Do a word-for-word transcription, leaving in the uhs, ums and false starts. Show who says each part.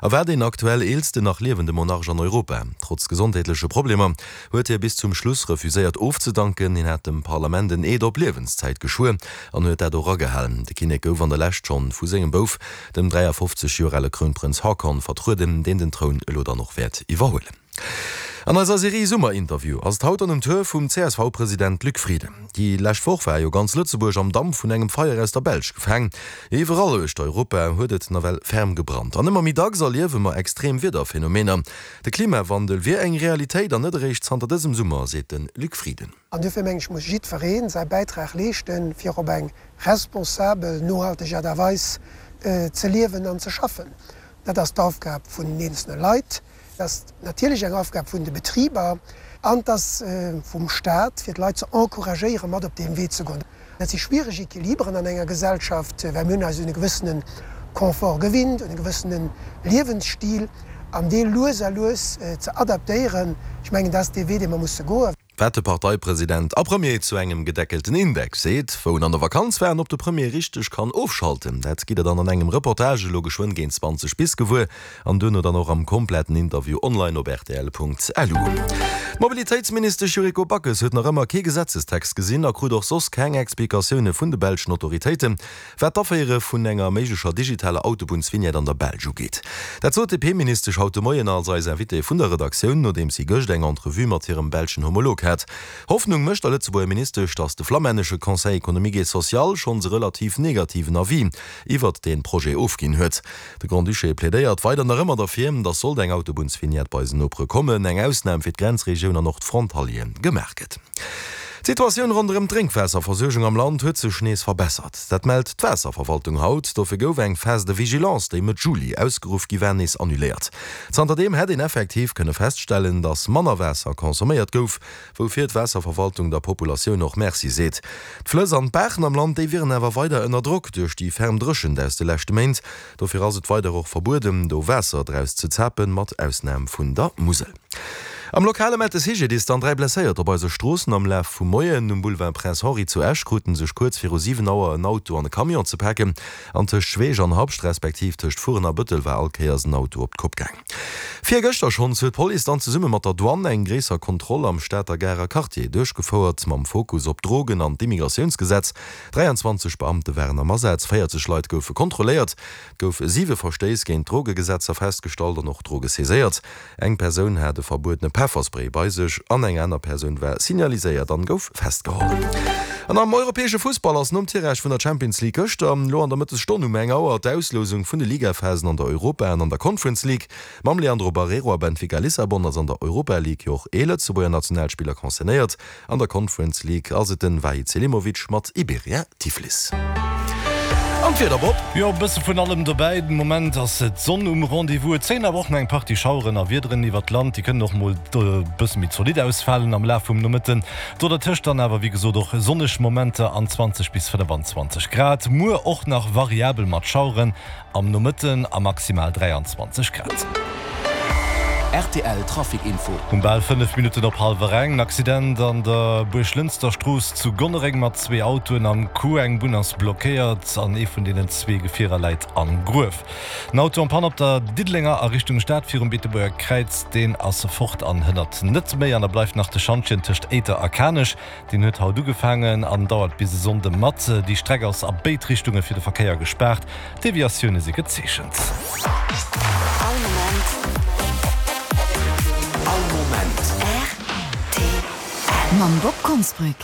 Speaker 1: a war deen aktuell eelsten nach liewende Monarch an Europa. Trotz gesondheetleche Problemer huet hie bis zum Schluss refuséiert ofzedanken. Hien hat dem Parlament en Eed op Liewenszäit geschwuer an huet dat och agehalen. De Kinnek gouf an der Lescht schonn vu sengem Bouf, dem dräiafofzeg Joer ale Krounprënz Haakon, vertrueden, deen den Troun elo dann och wäert iwwerhuelen. An eiser Serie Summerinterview ass et haut dann um Tour vum C S V-President Luc Frieden. Déi lescht Woch war jo ganz Lëtzebuerg am Damp vun engem Feier aus der Belsch gefaang. Iwwerall uechter Europa huet et nawell ferm gebrannt. An ëmmer méi dacks erliewe mer extrem Wiederphenomener. De Klimawandel wier eng Realitéit an net eréischt zanter dësem Summer, seet de Luc Frieden.
Speaker 2: An duerfir mengen ech, muss jiddweree säi Bäitrag leeschten, fir op eng responsabel, nohalteg Aart a Weis ze liewen an ze schaffen. Dat ass d'Aufgab vun den eenzelne Leit, dat ass natierlech eng Aufgab vun de Betriber an et ass vum Staat, fir d'Leit ze encouragéieren, mat op deem Wee ze goen. Dat si schwiereg Equiliberen an enger Gesellschaft, well mir hunn eis un e gewëssene Confort gewinnt, un e gewëssene Liewensstil, an dee lues a lues ze adaptéieren, ech mengen, dat ass dee Wee, dee mer musse goen.
Speaker 1: Wat de Parteipresident a Premier zu engem gedeckelten Index seet, wou en an der Vakanz war an ob de Premier richteg kann ofschalten, dat gitt der dann an engem Reportage elo geschwënn géint zwanzeg bis gewuer an duerno dann och am kompletten Interview online op rtl Punkt L U. D'Mobilitéitsministesch Yuriko Backes huet nach ëmmer kee Gesetzestext gesinn a krut och soss keng Explikatioune vun de belschen Autoritéiten, wat d'Aféiere vun enger méiglecher digitaler Autobunnsvignette an der Belsch ugeet. Dat sot d'D P-Ministesch haut de Moien als eis Invitée vun der Redaktioun, nodeems si gëscht eng Entrevue mat hirem belschen Homolog hat. Hoffnung mécht der Lëtzebuerger Ministesch, datt de flammännesche Conseil économique et social schonns e relativ negativen Avis iwwert dee Projet ofginn huet. De Grand-Duché plädéiert weider nach ëmmer derfir, datt sollt eng Autobunnsvignette bei eisen Nopere kommen, eng Ausnam fir d'Grenzregioun an och d'Frontalieren gemaach gëtt. D'Situatioun ronderëm d'Drénkwaasserversuergung am Land huet sech nees verbessert. Dat mellt d'Waasserverwaltung haut. Dofir gouf eng Phase de vigilance, déi Mëtt Juli ausgeruff gi war, nees annuléiert. Zanterdeem hätt een effektiv kënne feststellen, datt manner Waasser consomméiert gouf, woufir d'Waasserverwaltung der Populatioun och Merci seet. D'Flëss an d'Baachen am Land, déi wieren awer weider ënner Drock duerch déi ferm Dréchent aus de leschte Méint. Dofir ass et weider och verbueden, do Waasser draus ze zapen, mat Ausnam vun der Musel. Am Lokale mellt de C G D I S dann dräi Blesséiert op eise Stroossen am Laf vum Moien. Um Boulevard Prince Henri zu Esch kruten sech kuerz viru siwen Auer en Auto an e Camion ze paken. An tëscht Schweech an Habscht respektiv tëscht Furen a Bëttel war all Kéiers en Auto op d'Kopp gaang. Virgëschter schonns huet d'Police dann zesumme mat der Douane eng gréisser Kontroll am Stater Garer Quartier duerchgefouert, mam Fokus op d'Drogen an d'Immigratiounsgesetz. dräianzwanzeg Beamte waren am Asaz, véierzeg Leit goufe kontrolléiert. Et goufe siwe Verstéiss géint d'Drogegesetzer festgestallt an och Droge saiséiert. Eng Persoun hat e verbuedene Pefferspray bei sech an eng aner Persoun war signaliséiert an gouf festgeholl. An am europäesche Fussball ass nom Tirage vun der Champions League gëschter elo an der Mëttesstonn um eng Auer d'Auslousung vun de Ligaphasen an der Europa an an der Conference League. Mam Leandro Barreiro a Benfica Lissabon ass an der Europa League jo och ee Lëtzebuerger Nationalspiller concernéiert. An der Conference League ass et den Vahid Selimovic mat Iberia Tiflis. An d'Wieder, Bob?
Speaker 3: Jo, e bësse vun allem dobäi. Den Moment ass d'Sonn um Rendez-vous. Et zéien awer och nach eng Partie Schaueren a Wiederen iwwert d'Land. Déi kënnen och mol e bësse méi zolidd ausfalen am Laf vum Nomëtten. Do dertëscht dann awer wéi gesot och sonneg Momenter an zwanzeg bis fënnefanzwanzeg Grad. Muer och nach variabel mat Schaueren am Nomëtten a maximal dräianzwanzeg Grad.
Speaker 4: R T L Trafic Info.
Speaker 3: Um bal fënnef Minutten op hallwer eng, en Accident an der Buerglënster Strooss zu Gonnereng mat zwee Autoen am Coup. Eng Bunn ass blockéiert an ee vun deenen zwee Gefierer läit am Gruef. En Auto en panne op der Diddelenger a Richtung Stad virum Beetebuerger Kräiz, deen ass fort an hënnert net méi. An da bleift nach de Schantjen tëscht Éiter a Kanech. Deen huet haut ugefaangen an dauert bis e Sonnde mat. Déi Streck ass a béid Richtunge fir de Verkéier gespaart. Deviatioune si gezeechent.
Speaker 5: All Moment.
Speaker 4: All Moment.
Speaker 5: R T L. Mam Bob Konsbrück.